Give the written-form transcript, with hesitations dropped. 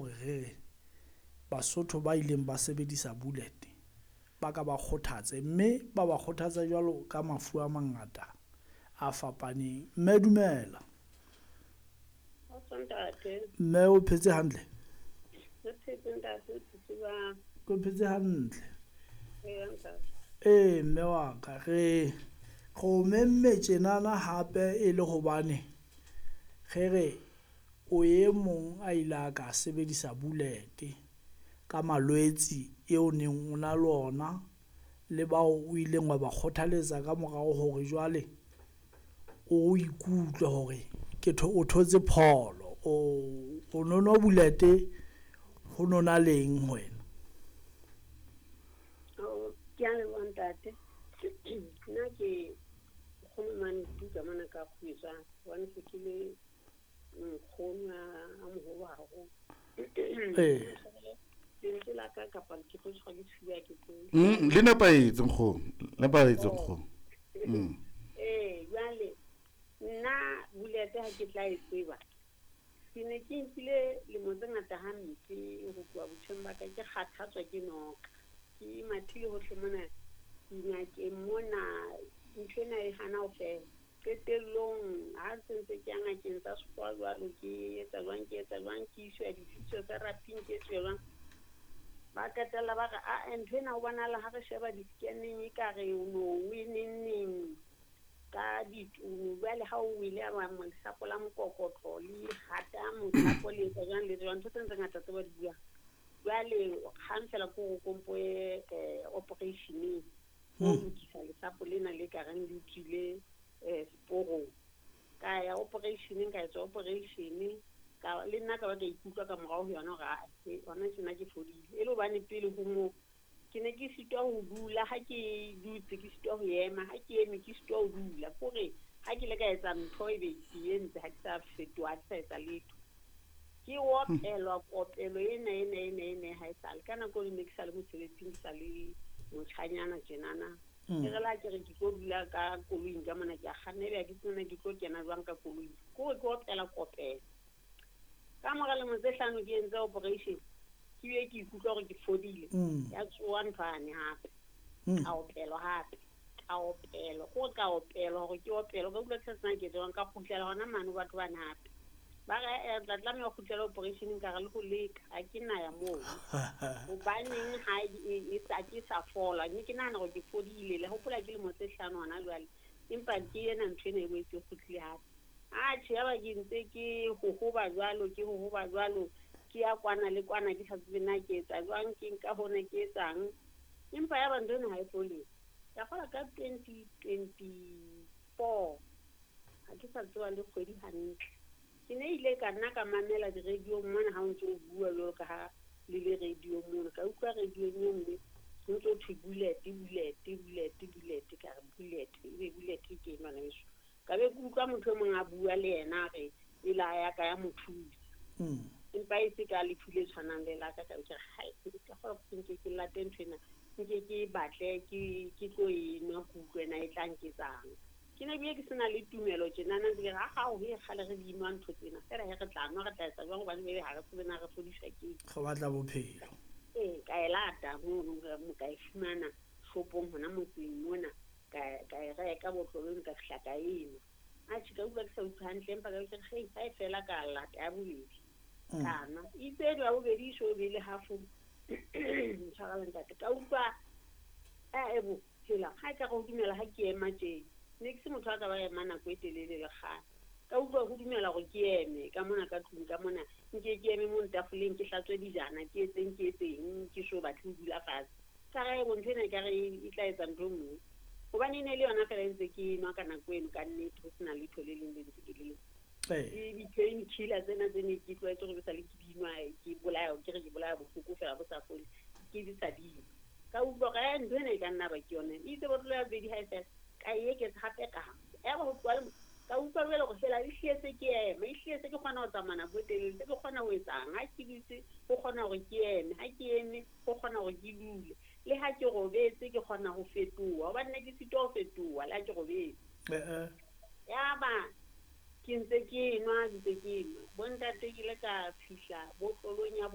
hore re re Basotho ba ileng ba sebedisa bullet ba ka ba kgothatse, mme ba ba kgothatsa jwalo ka mafu a mangata a fapaneng. Mme dumela. Mme o phetse hantle? Ke phetse hantle. Ee, mme wa ka, re o memme tjenana hape e le hobane re re o e mong a ile a ka sebedisa bullet ka malwetsi eo neng o na le ona le bao o ileng wa ba kgothaletsa ka morao hore jwale o ikutlwe hore ke o thotse pholo. O no nwa bullet ho nona leng ho wena? Ke a leboha, ntate. Nna ke nkgono mane Tuka mona ka Kgwetsang, hobane se ke le nkgono a moholo haholo. Lentswe la ka kapa ke tlo tshwarwa ke sefuba, ke tsebe. Le nepahetse, nkgono, nepahetse, nkgono. Ee, jwale nna bullet ha ke tla e tseba, ke ne ke nkile lemo tse ngata hampe ho tloha botjheng ba ka, ke kgathatswa ke noka, ke mathile hohle mona dingakeng mona, ntho ena e hana ho fela. Qetellong ha se ntse ke ya ngakeng tsa sekgowa jwalo, ke etsa jwang, ke etsa jwang, ke iswa di-physiotherapy-ing, ke etsuwa jwang, ba qetella ba re aa, ntho ena ho bonahala ha re sheba di-scan-eng ekare o no o e neng neng ka ditunu. Jwale ha o wele lesapo la mokokotlo le hata mothapo, le etsa jwang, le etsa jwang, ntho tsena tse ngata tse ba di buang. Jwale kgang fela ke hore kompo ye operation-eng ho lokisa lesapo lena le ka reng le tswile seporong. Ka ya operation-eng, ka etswa operation, ka le nna ka ba ka ikutlwa ka morao ho yona hore aa, hona tjena ke fodile. E le hobane pele ho moo ke ne ke sitwa ho dula, ha ke dutse ke sitwa ho ema, ha ke eme ke sitwa ho dula. Kore ha ke ile ka etsa ntho, ebe ke entse, ha ke sa fetoha, ha ke sa etsa letho. Ke opelwa kopelo ena ena ena ena ha esale ka nako eo ne ke sa le mosebetsing, ke sa le motjhanyana tjenana. Ke re la ke re ke tlo dula ka koloing ka mona, ke a kganna, ebe ha ke tsebe na ke tlo kena jwang ka koloing. Kore ke opela kopelo. Ka mora lemo tse 5 ke entse operation, ke bile ke ikutlwa hore ke fodile. Ya tsoha nthwane hape. Ka opelwa hape. Ka opelwa. Kore ka opelwa hore ke opelwa. Ka utlwa ke sa tsebe ke jwang, ka kgutlela hona mane ho batho bana hape. Ba re eh, tla tlameha ho kgutlela operation, ka re le ho leka ha ke na ya moo. Hobaneng ha e sa ke sa fola, mme ke nahana hore ke fodile. Le hopola ke lemo tse 5 hona jwale, empa ke ena ntho ena e boetse e kgutlile hape. Atjhe, yaba ke ntse ke hohoba jwalo, ke hohoba jwalo, ke ya kwana le kwana, ke sa tsebe na ke etsa jwang, ke nka hona ke etsang. Empa yaba ntho ena ha e fole. Ka kgola ka 2024, ha ke sa tseba le kgwedi hantle. Ke ne ile ka nna ka mamela di-radio-ng mona ha o ntso o bua jwalo ka ha le le radio-ng mono. Ka utlwa radio-ng e nngwe ho ntso thwe bullet, bullet, bullet, bullet. Ka re bullet, ebe bullet ke eng bana beso? Ka be ke utlwa motho e mong a bua le yena, a re e la ya ka ya mo thusa. Empa e se ka lefu le tshwanang le la ka. Ka be ke re hai, ka kgolwa ke nke ke late ntho ena, nke ke batle ke tlo e nwa, ke utlwe na e tla nketsang. Ke ne bile ke sena le tumelo tjenana, ntse ke re ha ho e kgale re di nwa ntho tsena fela, he re tla nwa, re tla etsa jwang, hobane ebe ha re tsebe na re fodiswa ke eng. Re batla bophelo. Ee, ka e lata mono, ka e fumana shopong hona motseng mona, ka e reka botlolong, ka fihla ka e nwa. Atjhe, ka utlwa ke sa utlwe hantle, empa ka ke re hei, ha e fela ka lata ya bobedi. Ka nwa. Itse ya bobedi e so be le half, ntshwarele ntate, ka utlwa bo hela ha e ka re ho dumela ha ke ema tje. Ne ke se motho a ka ba ema nako e telele le kgale. Ka utlwa ho dumela hore ke eme ka mona ka tlung ka mona, nke ke eme mo tafoleng, ke hlatswe dijana, ke etseng, ke etseng, ke so batle ho dula fatshe. Ka re bo ntho ena ekare e tla etsa ntho e nngwe. Hobane e ne le yona fela e ntse ke nwa ka nako eno, ka nnete ho sena letho le leng le ntse ke le. Le di-pain killer tsena tse ne ke tlwaetse hore ke sale ke di nwa, ke bolaya, ke re ke bolaya bohloko fela bo sa fole, ke di sa di nwa. Ka utlwa hore ntho ena e ka nna ba ke yona. Itse botlolo ya bobedi ha e fela, ka e eketsa hape ka ya ba ho tloha le ka utlwa jwale hore fela e hlile se ke ema, e hlile se ke kgona ho tsamaya nako e telele, se ke kgona ho etsang. Ha ke dutse ho kgona hore ke eme, ha ke eme ho kgona hore ke dule, le ha ke robetse ke kgona ho fetoha, hobane ne ke sitwa ho fetoha le ha ke robetse. Yaba ke ntse ke nwa, ntse ke nwa. Bontate, ke ile ka fihla botlolong ya